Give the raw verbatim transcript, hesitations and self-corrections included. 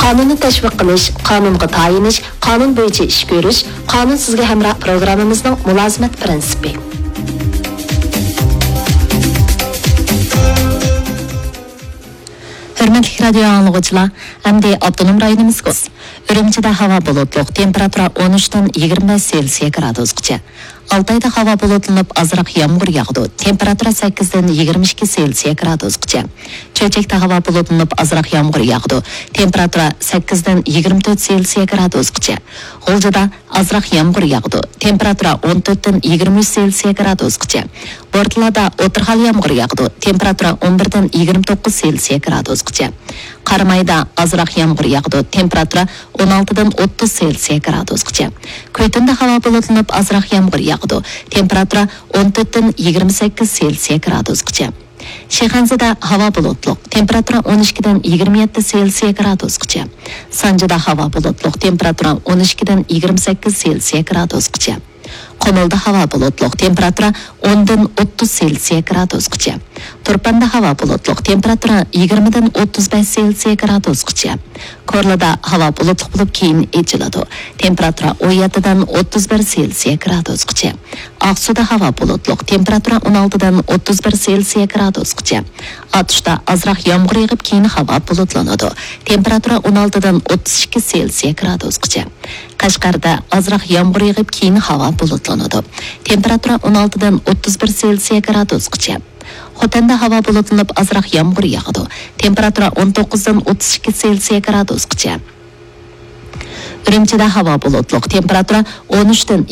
قانۇننى تەشۋىق قىلىش، قانۇنغا تايىنىش، قانۇن بويىچە ئىش كۆرۈش، قانۇن سىزگە ھەمراھ پروگراممىمىزنىڭ مۇلازىمەت پىرىنسىپى. ھۆرمەتلىك رادىيو ئاڭلىغۇچىلار، ئەمدى ئاپتونوم رايونىمىزغا. ئۈرۈمچىدە ھاۋا بۇلۇتلۇق، تېمپېراتۇرا ئون ئۈچتىن يىگىرمە بەش سېلسىيە گرادۇسقىچە. ئالتايدا ھاۋا بۇلۇتلىنىپ، ئازراق يامغۇر ياغىدۇ. تېمپېراتۇرا سەككىزدىن يىگىرمە ئىككى سېلسىيە گرادۇسقىچە. چۆچەكتە ھاۋا بۇلۇتلىنىپ، ئازراق يامغۇر ياغىدۇ. تېمپېراتۇرا سەككىزدىن يىگىرمە تۆت سېلسىيە گرادۇسقىچە. غۇلجىدا ئازراق يامغۇر ياغىدۇ. تېمپېراتۇرا ئون تۆتتىن يىگىرمە ئۈچ سېلسىيە گرادۇسقىچە. بورتالادا ئوتتۇرا ھال يامغۇر ياغىدۇ. تېمپېراتۇرا ئون بىردىن يىگىرمە توققۇز سېلسىيە گرادۇسقىچە. قارامايدا ئازراق يامغۇر ياغىدۇ. تېمپېراتۇرا ئون ئالتىدىن ئوتتۇز سېلسىيە گرادۇسقىچە. كۈيتۈندە ھاۋا بۇلۇتلىنىپ، ئازراق يامغۇر ياغىدۇ. تېمپېراتۇرا ئون تۆتتىن يىگىرمە سەككىز سېلسىيە گرادۇسقىچە. شىخەنزىدە ھاۋا بۇلۇتلۇق، تېمپېراتۇرا ئون ئىككىدىن يىگىرمە يەتتە سېلسىيە گرادۇسقىچە. سانجىدا ھاۋا بۇلۇتلۇق، تېمپېراتۇرا ئون ئىككىدىن يىگىرمە سەككىز سېلسىيە گرادۇسقىچە. قۇمۇلدا ھاۋا بۇلۇتلۇق، تېمپېراتۇرا ئوندىن ئوتتۇز سېلسىيە گرادۇسقىچە. تۇرپاندا ھاۋا بۇلۇتلۇق، تېمپېراتۇرا يىگىرمىدىن ئوتتۇز بەش سېلسىيە گرادۇسقىچە. كورلىدا ھاۋا بۇلۇتلۇق بولۇپ، كېيىن ئېچىلىدۇ. تېمپېراتۇرا ئون يەتتىدىن ئوتتۇز بىر سېلسىيە گرادۇسقىچە. ئاقسۇدا ھاۋا بۇلۇتلۇق، تېمپېراتۇرا ئون ئالتىدىن ئوتتۇز بىر سېلسىيە گرادۇسقىچە. ئاتۇشتا ئازراق يامغۇر يېغىپ، كېيىن ھاۋا بۇلۇتلىنىدۇ. تېمپېراتۇرا ئون ئالتىدىن ئوتتۇز ئىككى سېلسىيە گرادۇسقىچە. قەشقەردە ئازراق يامغۇر يېغىپ، كېيىن ھاۋا بۇلۇتلىنىدۇ. تېمپېراتۇرا ئون ئالتىدىن ئوتتۇز بىر سېلسىيە گرادۇسقىچە. خوتەندە ھاۋا بۇلۇتلىنىپ، ئازراق يامغۇر ياغىدۇ. تېمپېراتۇرا ئون توققۇزدىن ئوتتۇز ئىككى سېلسىيە گرادۇسقىچە. ئۈرۈمچىدە ھاۋا بۇلۇتلۇق، تېمپېراتۇرا ئون ئۈچتىن